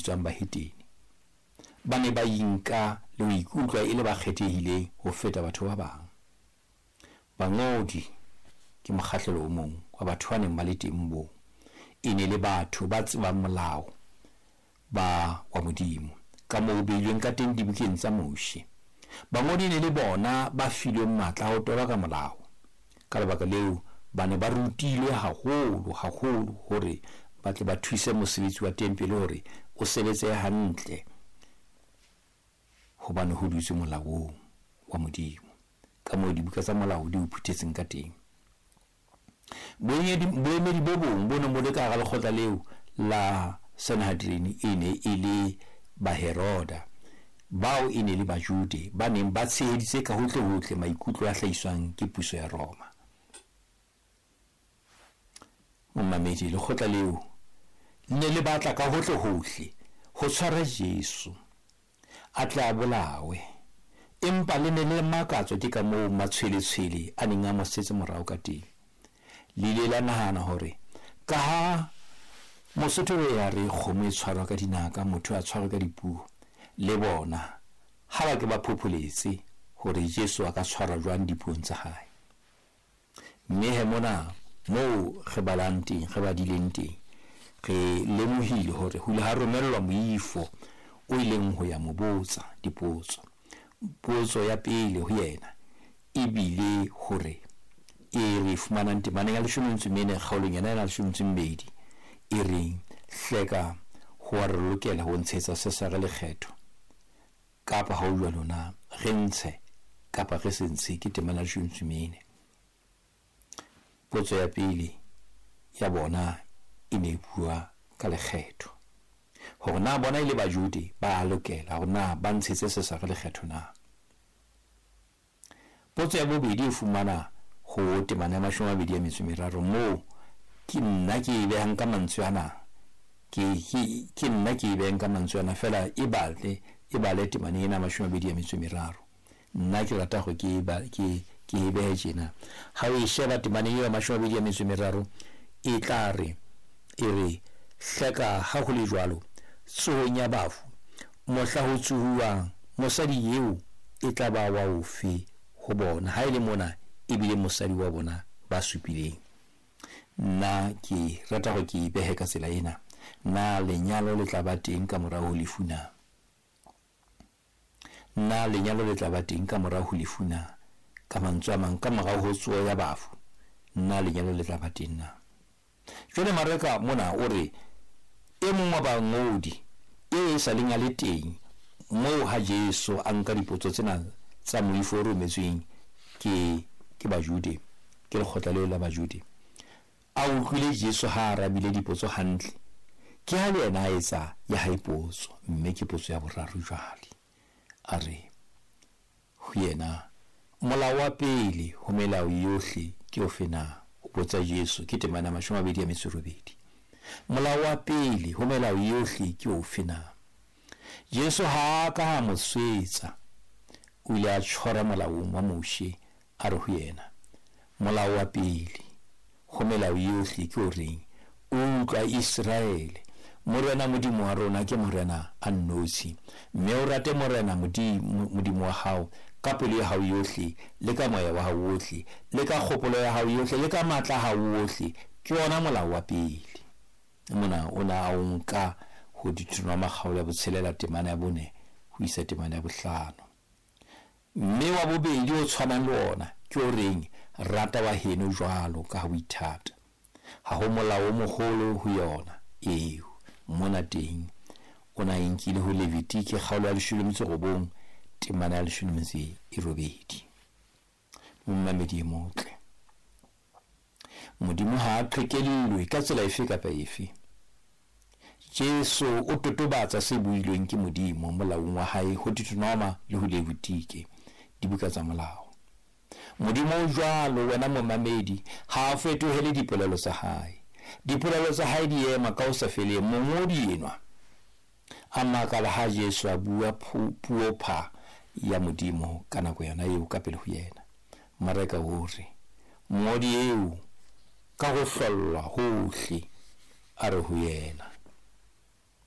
bitswang bahetene. Ba ne ba inka le ho ikutlwa e le ba kgethehileng ho feta batho ba bang. Bangodi ke mokgahlelo o mong wa batho ba neng ba le teng moo. E ne le batho ba tsebang molao ba wa Modimo ka moo o beilweng ka teng dibukeng tsa Moshe. Bangodi ne le bona ba filweng matla a ho toloka molao. Ka lebaka leo ba ne ba rutilwe haholo haholo hore ba tle ba thuse mosebetsi wa tempele hore o sebetse hantle, hobane ho dutswe molaong wa Modimo ka moo dibuka tsa molao di o phuthetseng ka teng. Boemedi bo bong bo neng bo le ka hara lekgotla leo la Sanhedrin e ne e le Baheroda, bao e ne le Bajude ba neng ba tsheheditse ka hohle-hohle maikutlo a hlahiswang ke puso ya Roma. Momamedi, lekgotla leo le ne le batla ka hohle-hohle ho tshwara Jesu a tle a bolawe, empa le ne le makatswa ke ka moo matshweletshwele a neng a mo setse morao ka teng. Le ile la nahana hore ka ha Mosotho o ya re kgomo e tshwarwa ka dinaka, motho a tshwarwa ka dipuo, le bona ha ba ke ba phopholetse hore Jesu a ka tshwarwa jwang dipuong tsa hae. Mme he mona moo re balang teng, re badileng teng, re lemohile hore ho ile ha romellwa moifo o ileng ho ya mo botsa dipotso. Potso ya pele ho yena e bile hore e re fumanang temaneng ya 14 kgaolong yena ya 12 e reng, hleka ho wa re lokela ho ntshetsa Sesare lekgetho kapa ha o jwalo na, re ntshe kapa re se ntshe? Ke temana ya 14. Potso ya pele ya bona e ne e bua ka lekgetho, hore na bona e le Bajude ba lokela hore na ba ntshetse Sesare lekgetho na. Potso ya bobedi e fumana ho temana ya 23 moo ke nna ke e behang ka mantswe ana, ke nna ke e behang ka mantswe ana fela, e bale temana ena 23. Nna ke rata hore ke e behe tjena. Ha o e sheba temaneng eo ya 23 e tla re, e re, hleka ha ho le jwalo tsohong ya bafu, mohla ho tsohuwang, mosadi eo e tla ba wa ofe ho bona, ha e le mona e bile mosadi wa bona ba supileng? Nna ke rata hore ke e behe ka tsela ena. Na lenyalo le tla ba teng ka morao ho lefu na? Na lenyalo le tla ba teng ka morao ho lefu na? Ka mantswe a mang, ka morao ho tsoho ya bafu, na lenyalo le tla ba teng na? Jwale Mareka mona o re e mong wa bangodi e sa leng a le teng moo ha Jesu a nka dipotso tsena tsa moifo o rometsweng ke Bajude, ke lekgotla leo la Bajude, a utlwile Jesu ha a arabile dipotso hantle, ke ha le yena a etsa ya hae potso, mme ke potso ya boraro jwale. A re ho yena, molao wa pele ho melao yohle ke ofe na? O botsa Jesu, ke temana 28. Molao wa pele ho melao yohle ke ofe na? Jesu ha a ka a mo swetsa, o ile a tshwara molaong wa Moshe, a re ho yena, molao wa pele ho melao yohle ke o reng, utlwa Iseraele, Morena Modimo wa rona ke Morena a nnotshi, mme o rate Morena Modimo wa hao ka pelo ya hao yohle, le ka moya wa hao wohle, le ka kgopolo ya hao yohle, le ka matla a hao wohle. Ke ona molao wa pele. Mona o na a o nka ho Deuteronoma kgaolo ya 6 temana ya 4 ho isa temana ya 5. Mme wa bobedi o tshwanang le ona ke o reng, rata wa heno jwalo ka ha o ithata. Ha ho molao o moholo ho yona eo. Mona teng o na e nkile ho Levitike kgaolo ya 19 temana ya 18. Momamedi e motle, Modimo ha a qhekellwe ka tsela efe kapa efe. Jesu o totobatsa se builweng ke Modimo molaong wa hae ho Deuteronoma le ho Levitike, dibuka tsa molao. Modimo o jwalo, wena momamedi, ha a fetohele dipolelo tsa hae. Dipolelo tsa hae di ema ka ho sa feleng. Mongodi enwa a makala ha Jesu a bua puo pha ya Modimo ka nako yona eo ka pele ho yena. Mareka o re, mongodi eo ka ho hlollwa hohle a re ho yena,